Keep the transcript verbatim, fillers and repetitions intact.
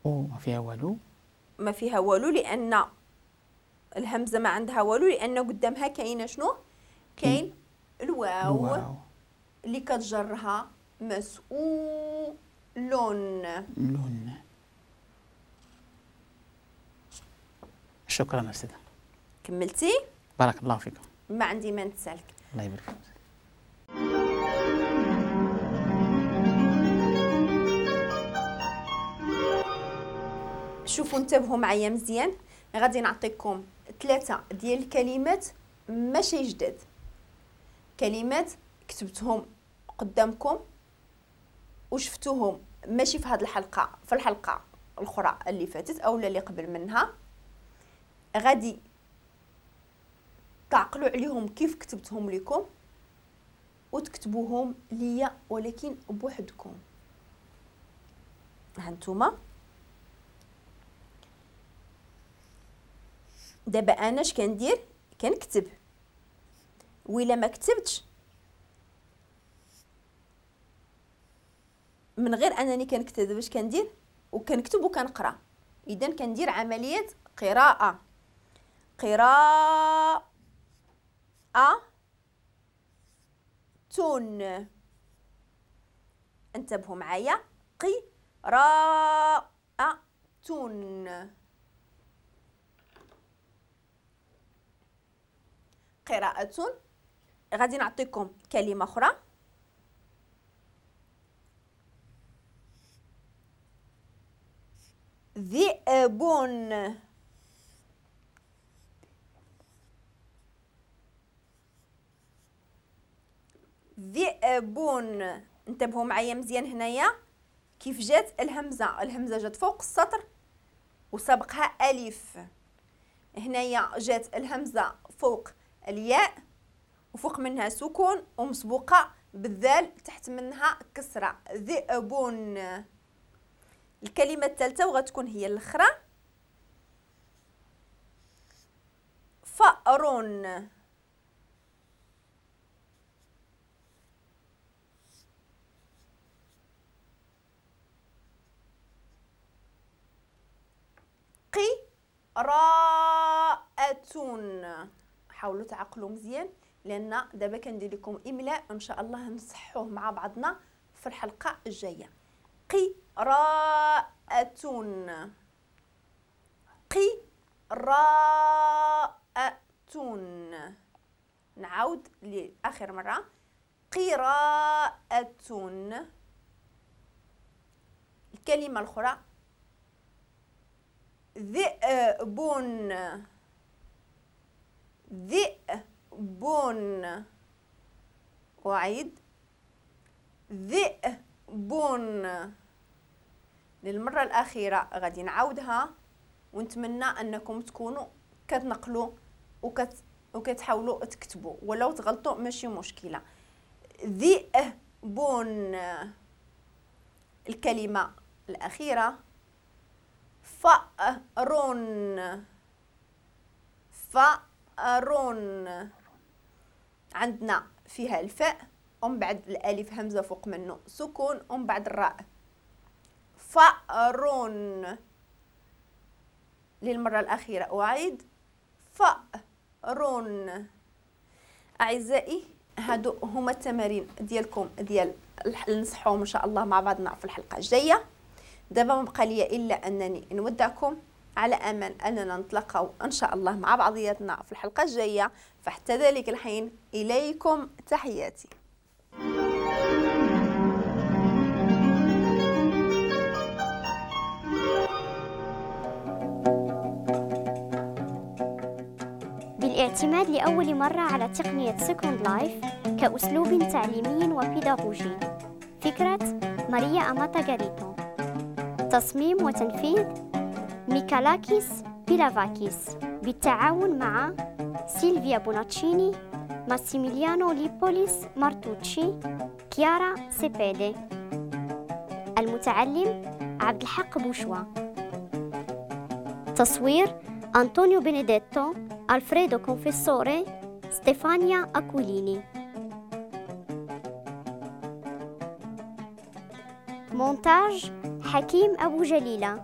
او ما فيها والو، ما فيها والو لان الهمزة ما عندها والو، لان قدامها كاينه شنو؟ كاين الواو, الواو اللي كتجرها مسؤول. لون. شكرا استاذه. كملتي؟ بارك الله فيكم. ما عندي ما نتسالك. الله يبارك فيك. شوفوا انتبهوا معايا مزيان، غادي نعطيكم ثلاثة ديال الكلمات ماشي جداد، كلمات كتبتهم قدامكم وشفتوهم ماشي في هذه الحلقة، في الحلقة الاخرى اللي فاتت او اللي قبل منها. غادي تعقلوا عليهم كيف كتبتهم لكم وتكتبوهم ليا ولكن بوحدكم. هانتوما دابا انا اش كندير؟ كنكتب، وإلا ما كتبتش من غير انني كنكتب دابا اش كندير؟ وكنكتب وكنقرا. اذا كندير عملية قراءة، قراءة تون. انتبهوا معايا، قراءة تون. قراءة. غادي نعطيكم كلمة أخرى، ذئب. ذئب. انتبهوا معايا مزيان هنايا كيف جات الهمزة. الهمزة جات فوق السطر وسبقها ألف. هنايا جات الهمزة فوق الياء وفوق منها سكون ومسبوقة بالذال تحت منها كسرة. ذئب. الكلمة الثالثة وغتكون هي الأخرى، فأر. قراءة. حاولوا تعقلوا مزيان لان دابا كندير لكم املاء ان شاء الله نصحوه مع بعضنا في الحلقة الجاية. قراءة، قراءة. نعاود لاخر مرة، قراءة. الكلمة الاخرى ذئب. ذئب. أعيد، ذئب. للمرة الأخيرة غادي نعاودها، ونتمنى أنكم تكونوا كتنقلوا وكت وكتحاولوا تكتبوا، ولو تغلطوا ماشي مشكلة. ذئب. الكلمة الأخيرة فأر. فأر. عندنا فيها الفاء ومن بعد الالف همزه فوق منه سكون ومن بعد الراء. فأر. للمرة الاخيرة اعيد، فأر. اعزائي هادو هما التمارين ديالكم ديال نصحوهم ان شاء الله مع بعضنا في الحلقة الجاية. دابا ما بقى لي الا انني نودعكم على امل اننا نتلاقاو ان شاء الله مع بعضياتنا في الحلقة الجاية. فحتى ذلك الحين اليكم تحياتي. بالاعتماد لأول مرة على تقنية Second Life كأسلوب تعليمي وبيداغوجي. فكرة ماريا أماتا غاريتو. تصميم وتنفيذ ميكالاكيس بيلافاكيس بالتعاون مع سيلفيا بوناتشيني، ماسيميليانو ليبوليس مارتوتشي، كيارا سيبيدي. المتعلم عبد الحق بوشوا. تصوير أنطونيو بينيديتو، ألفريدو كونفيسوري، ستيفانيا أكوليني. مونتاج حكيم أبو جليلة.